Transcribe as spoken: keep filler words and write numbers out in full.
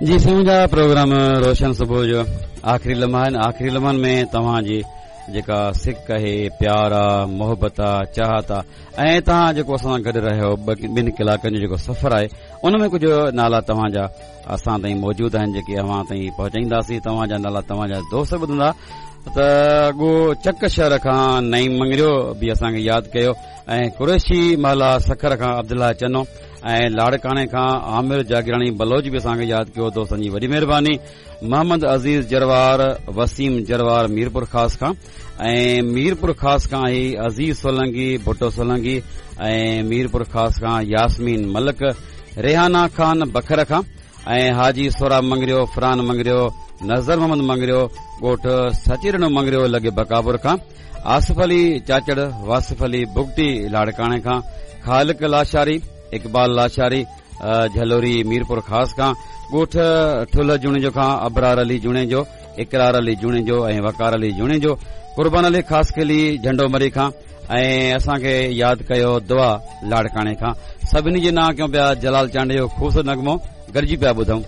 جي سائين منهنجا پروگرام روشن صبح جو آخري لمحا آهن. آخري لمحن ۾ توهان جي جيڪا سڪ آهي، پيار آ، محبت آ، چاهت آ ۽ توهان جيڪو اسان سان گڏ رهيو ٻن ڪلاڪن جو جيڪو سفر آهي ان ۾ ڪجهه نالا توهان جا اسان تائين موجود آهن جيڪي اوهان تائين پهچائينداسين. توهان جا نالا توهان جا دوست ٻڌندا ته ڳو چڪ شهر کان نعيم مڱريو به اسان کي ياد ڪيو ۽ قريشي محلا سکر کان عبدالله چنو ۽ لاڙڪاڻي کان عامر جاگيراڻي بلوچ به اسان کي ياد ڪيو. دوستن جي وڏي مهرباني. محمد عزيز جروار، وسيم جروار ميرپور خاص کان ۽ ميرپور خاص کان هي عزيز سولنگي، ڀٽو سولنگي ۽ ميرپور خاص کان ياسمين ملڪ، ريحانا خان بکر کان ۽ حاجي سوراب مڱريو، فران مڱريو، نظر محمد مڱريو ڳوٺ سچيرڻو مڱريو لڳي بڪاپور کان، آصف علي چاچڙ، واصف علي بگٽي لاڙڪاڻي کان، خالق لاشاري، اقبال لاشاري جهلوري ميرپور خاص کان، ڳوٺ ٺلهه جوڻيجو کان ابرار علي جوڻيجو، اقرار علي جوڻيجو ۽ وقار علي جوڻيجو، قربان علي خاصخيلي جهنڊو مري کان ۽ اسان کي ياد ڪيو دعا لاڙڪاڻي کان. سڀني جي نانء ڪيون پيا. جلال چانڊيو خوبصورت نغمو گڏجي پيا ٻڌون.